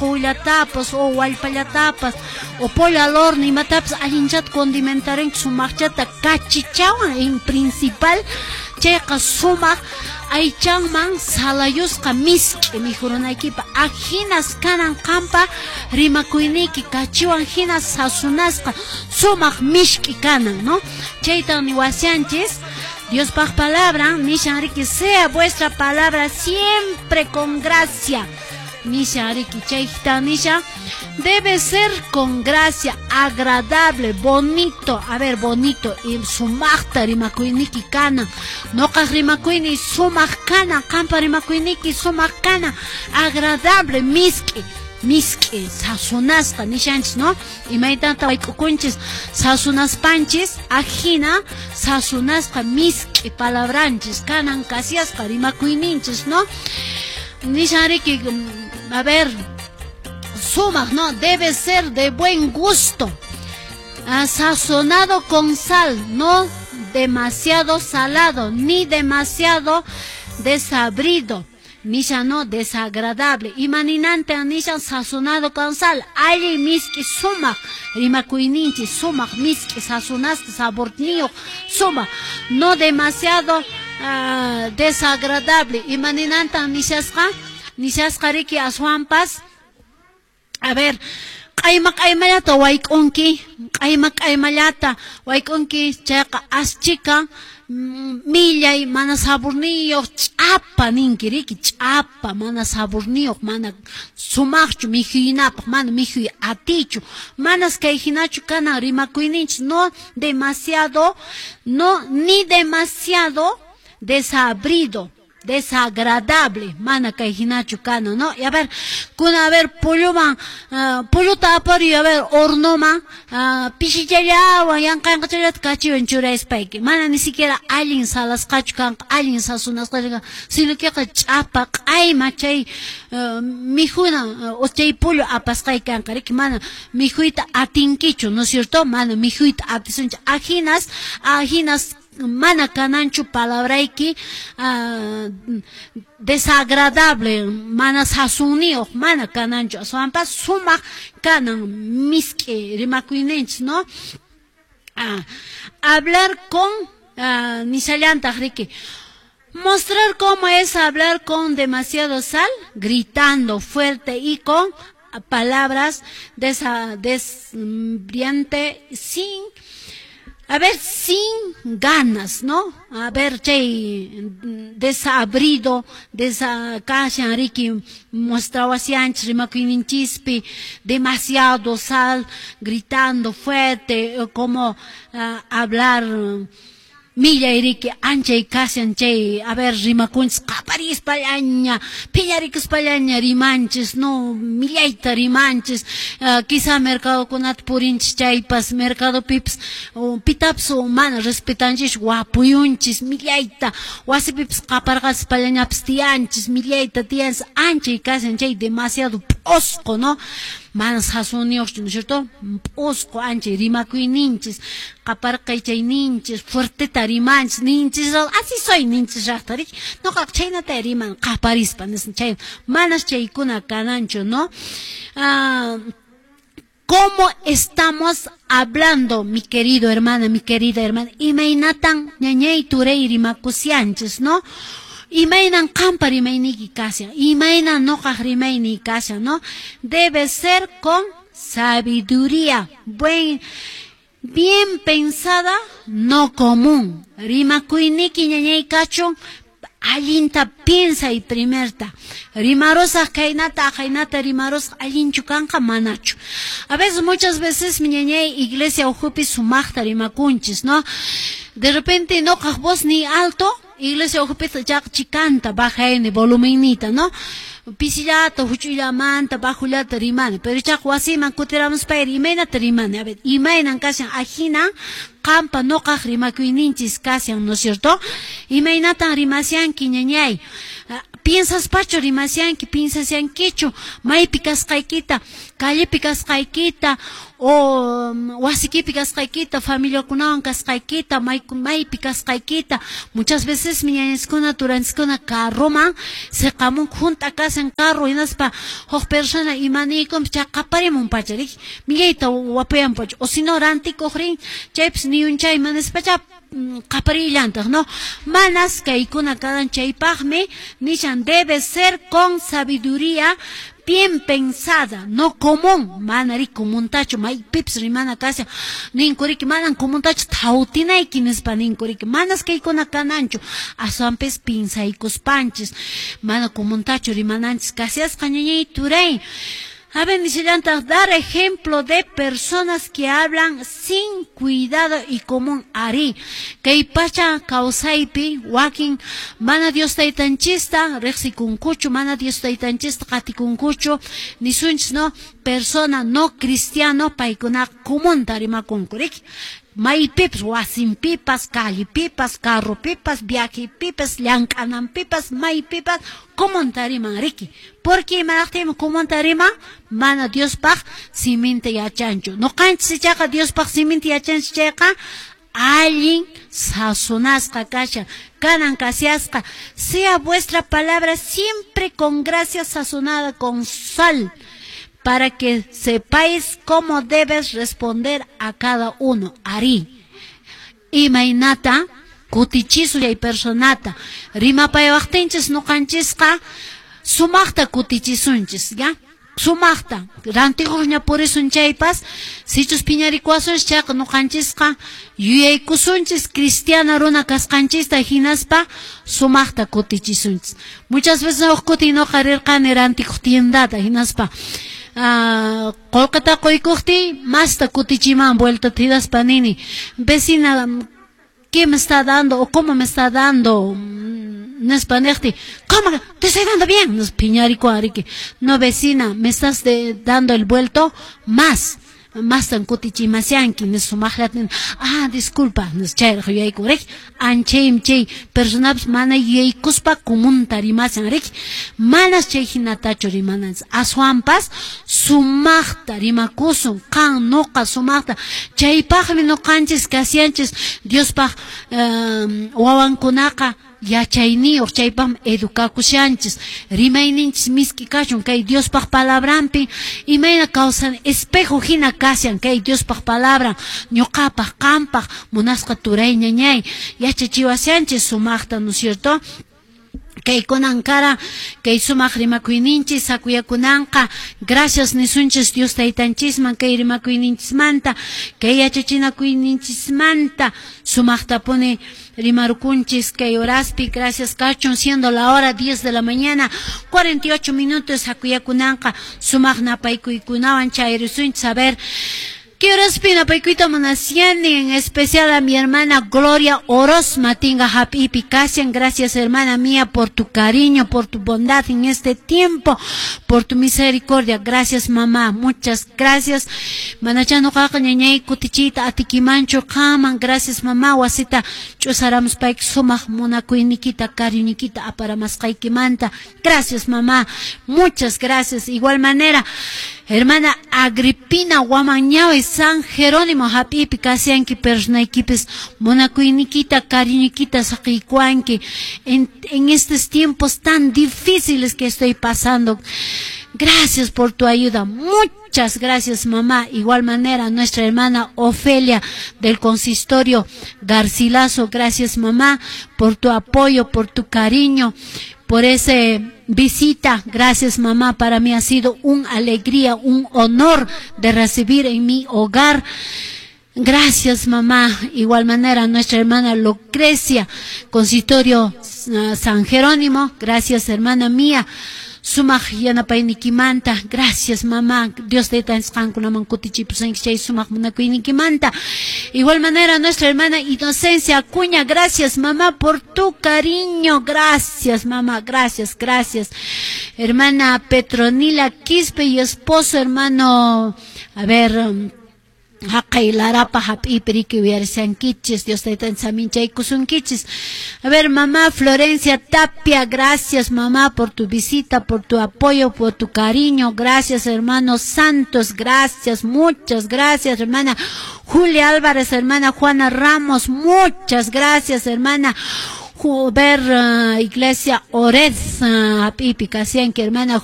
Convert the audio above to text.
Qullatapas o wallpallatapas o pollo al horno imatapas allinchata condimentarinki sumaqchata kachichawan en principal chayqa sumaq aychanman salayusqa misk'i mikhurunaykipaq ajinas kanan qampa rimakuyniyki kachiwan hina sasunasqa sumaq misk'i kanan, no? Chaytan niwashanchis Diospaq palabran nishan riki, sea vuestra palabra siempre con gracia. Nishan riki, chayta nishan, debe ser con gracia, agradable, bonito. A ver, bonito y sumaqta rimakuyniki kanan. Noqaq rimakuyni sumaq kanan, qampa rimakuyniki sumaq kanan, agradable, misk'i. Misk'i sasunasqa nishanchis, no? Imaynata wayk'ukunchis sasunaspanchis, ajina sasunasqa misk'i palabranchis kanan kasiasqa rimakuyninchis, no? Nishan riki, a ver, sumaq, no? Debe ser de buen gusto, sazonado con sal, no demasiado salado ni demasiado desabrido. Nishan, no, desagradable. Imaninanta nishan sazonado con sal? Allin misk'i sumaq rimakuyninchis, sumaq misk'i sazonasqa saborniyuq sumaq, no demasiado desagradable. Imaninanta nishasqa? Nishasqa riki aswanpas, a ver, q'ayma q'aymallata wayk'unki, q'ayma q'aymallata wayk'unki chayqa aschika millay mana saborniyuq ch'apa ninki riki, ch'apa mana saborniyuq, mana sumaqchu mikhuynapaq, mana mikhuy atiychu. Manas kay hinachu kanan rimakuyninchis, no demasiado, no ni demasiado desabrido, desagradable, mana kay hinachu kana, no? Y a ver, kuna, a ver, polloman, pollota apariy, a ver, hornoman, pishichallawan yanqanqachallata kachiwan churaspayki, mana ni siquiera allin salasqachu kanqa, allin sasunasqachu kanqa, sino queqa ch'apa q'ayma chay mikhuna o chay pollo apasqay kanqa riki, mana mikhuyta atinkichu, ¿no es cierto? Mana mikhuyta atisunchu. Ajinas, ajinas mana kananchu palabrayki, desagradable, mana sasunniyuq mana kananchu, aswanpas sumaq kanan misk'i rimakuyninchis, no? Hablar con, nishallantaq riki, mostrar cómo es hablar con demasiado sal, gritando fuerte y con palabras desbriante sin, a ver, sin ganas, ¿no? A ver, chay desabrido, kashan riki mostrawashanchis rimakuyninchispi demasiado sal, gritando fuerte, como hablar millay riki anchay kashan chay, a ver, rimakunchis qaparispallaña, phiñarikuspallaña rimanchis, no, millayta rimanchis, quizá mercadokunata purinchis chaypas, mercadopipas pitapas mana respetanchis, wapuyunchis millayta, wasipipas qaparqaspallañapas tiyanchis, millayta tiyanchis, anchay kashan chay demasiado p'osqo, no? Mana sasunniyuqchu, ¿no es cierto? P'osqo anchay rimakuyninchis, qaparqaychayninchis, fuerteta rimanchis, ninchis, así soy ninchis raqta riki, noqaqa chhaynata riman qaparispa, chay manas chaykuna kananchu, ¿no? ¿Cómo estamos hablando, mi querido hermana, mi querida hermana? Imaynatan ñañay turay rimakushanchis, ¿no? Imaynan qampa rimayniyki kashan, imaynan noqaq rimayniy kashan, ¿no? Debe ser con sabiduría, bien pensada, no común. Rimakuyniki ñañay kachun, allinta piensay primerta. Rimarusaq kaynata, aqhaynata rimarusaq, allinchu kanqa manachu. A veces, muchas veces, mi ñañay, iglesia ukhupi sumaqta rimakunchis, ¿no? De repente noqaq voz ni alto, iglesia ukhupi chaqa chikanta bajayni volumennita, ¿no? Pisillata, huch'uyllamanta, bajullata rimani, pero chaqa wasiman kutiramuspayri imaynata rimani, a ver, imaynan kashan ajina Qampa nuqaq rimakuyninchis kashan, ¿no es cierto? Imaynatan rimashanki, ñañay? Piensaspachu rimashanki, piensashankichu maypi kasqaykita, callepi kasqaykita, o wasikipi kasqaykita, familiakunawan kasqaykita, maypi kasqaykita? Muchas veces ñañanchiskuna, turanchiskuna carroman siqamunku, hunt'a kashan carro, hinaspa huk persona imaniykunpas chay qaparimun pacha, riki, millayta wapuyan pacha, o si no rantikuq rin, chaypis niyunchay imanispacha qaparillantaq, ¿no? Manas kaykuna kanan. Chaypaqmi nishan: debe ser con sabiduría bien pensada, no común, mana ri comuntachu maypipas rimana kashan, ninku riki, manan comuntachu thawtinayki nispa ninku riki, manas kaykuna kananchu, aswanpis pinsaykuspanchis mana comuntachu rimananchis kashasqa, ñañay, turay. A ver, nishallantaq: dar ejemplo de personas que hablan sin cuidado y común. Ari, kay pacha kawsaypi wakin mana Dios taytanchista riqsikunkuchu, mana Dios taytanchista qatikunkuchu, nisunchis, no, persona no cristiano, paykuna comunta rimakunku, riki, maypipas, wasinpipas, callepipas, carropipas, viajepipas, llank'ananpipas, maypipas comunta riman, riki. Porque imanaqtinmi comunta riman? Mana Diospaq siminta yachanchu. Nuqanchis ichaqa Diospaq siminta yachanchis, chayqa allin sazonasqa kashan, kanan kashasqa. Sea vuestra palabra siempre con gracia, sazonada con sal, para que sepáis cómo debes responder a cada uno. Ari, imaynata kutichisun chay personata rimapayawaqtinchis, nuqanchisqa sumaqta kutichisunchis, ya? Sumaqta rantikuqña purisun chaypas, sichus phiñarikuwasunchis chayqa, nuqanchisqa yuyaykusunchis cristiana runa kasqanchista, hinaspa sumaqta kutichisunchis. Muchas veces huk kutin nuqa rirqani rantikuq tiendata, hinaspa qullqita quykuqtiy masta kutichiman vueltata, hinaspa nini: "Vecina, ¿qué me está dando o cómo me está dando?" nispa niqtiy, "¿Cómo? Te estoy dando bien", nos phiñarikuwan riki. "No, vecina, me estás dando el vuelto más, mastan kutichimashanki", nis sumaqllata. "Ah, disculpa", nis chayraq yuyaykun riki. Anchaymi chay personapas mana yuyaykuspa comunta rimashan riki. Manas chay hinatachu rimananchis, aswanpas sumaqta rimakusun, qan, nuqa, sumaqta. Chaypaqmi nuqanchis kashanchis Diospaq wawankunaqa yachayniyuq, chaypaqmi educakushanchis. Rimayninchis misk'i kachun. Kay Diospaq palabranpi imayna kawsan, espejo hina kashan kay Diospaq palabran ñuqapaq, qampaq, munasqa turay, ñañay, yachachiwashanchis sumaqta, ¿no es cierto? Kaykunan kara kay sumaq rimakuyninchis sakuyakunanqa. Gracias nisunchis Dios taytanchisman kay rimakuyninchismanta, kay yachachinakuyninchismanta. Sumaqtapuni rimarukunchis kay horaspi. Gracias kachun. Siendo la hora 10 de la mañana 48 minutos, sakuyakunanqa sumaq napaykuykunawan chayrisunchis. A ver, ¿qué horaspi napaykuyta munashani? En especial a mi hermana Gloria Oroz Matinga Hapipi Kasian. Gracias, hermana mía, por tu cariño, por tu bondad en este tiempo, por tu misericordia. Gracias, mamá, muchas gracias. Manachá nuqaqa, ñañay, kutichiyta atikimanchu qaman. Gracias, mamá, wasita ch'usaramuspayki sumaq munakuynikita, cariñikita aparamasqaykimanta. Gracias, mamá, muchas gracias. Igual manera, hermana Agripina Guamañawi San Jerónimo hap'ipi kashanki, personaykipis munakuynikita, cariñikita saqiykuwanki en estos tiempos tan difíciles que estoy pasando. Gracias por tu ayuda. Muchas gracias, mamá. Igual manera, nuestra hermana Ofelia del consistorio Garcilaso. Gracias, mamá, por tu apoyo, por tu cariño, por esa visita. Gracias, mamá. Para mí ha sido una alegría, un honor de recibir en mi hogar. Gracias, mamá. Igual manera, nuestra hermana Lucrecia, consistorio San Jerónimo. Gracias, hermana mía. Sumaq yanapaynikimanta. Gracias, mamá. Dios taytanchis qankunaman kutichipusunki chay sumaq munakuynikimanta. Igual manera, nuestra hermana Inocencia Acuña. Gracias, mamá, por tu cariño. Gracias, mamá, gracias, gracias. Hermana Petronila Quispe y esposo, hermano, a ver, Haqay larapa hap'ipi riki uyarishankichis. Dios taytan saminchaykusunkichis. A ver, mamá Florencia Tapia, gracias, mamá, por tu visita, por tu apoyo, por tu cariño. Gracias, hermanos Santos, gracias, muchas gracias, hermana Julia Álvarez, hermana Juana Ramos, muchas gracias, hermana ver Iglesia Ored, hap'ipi kasianki, hermana.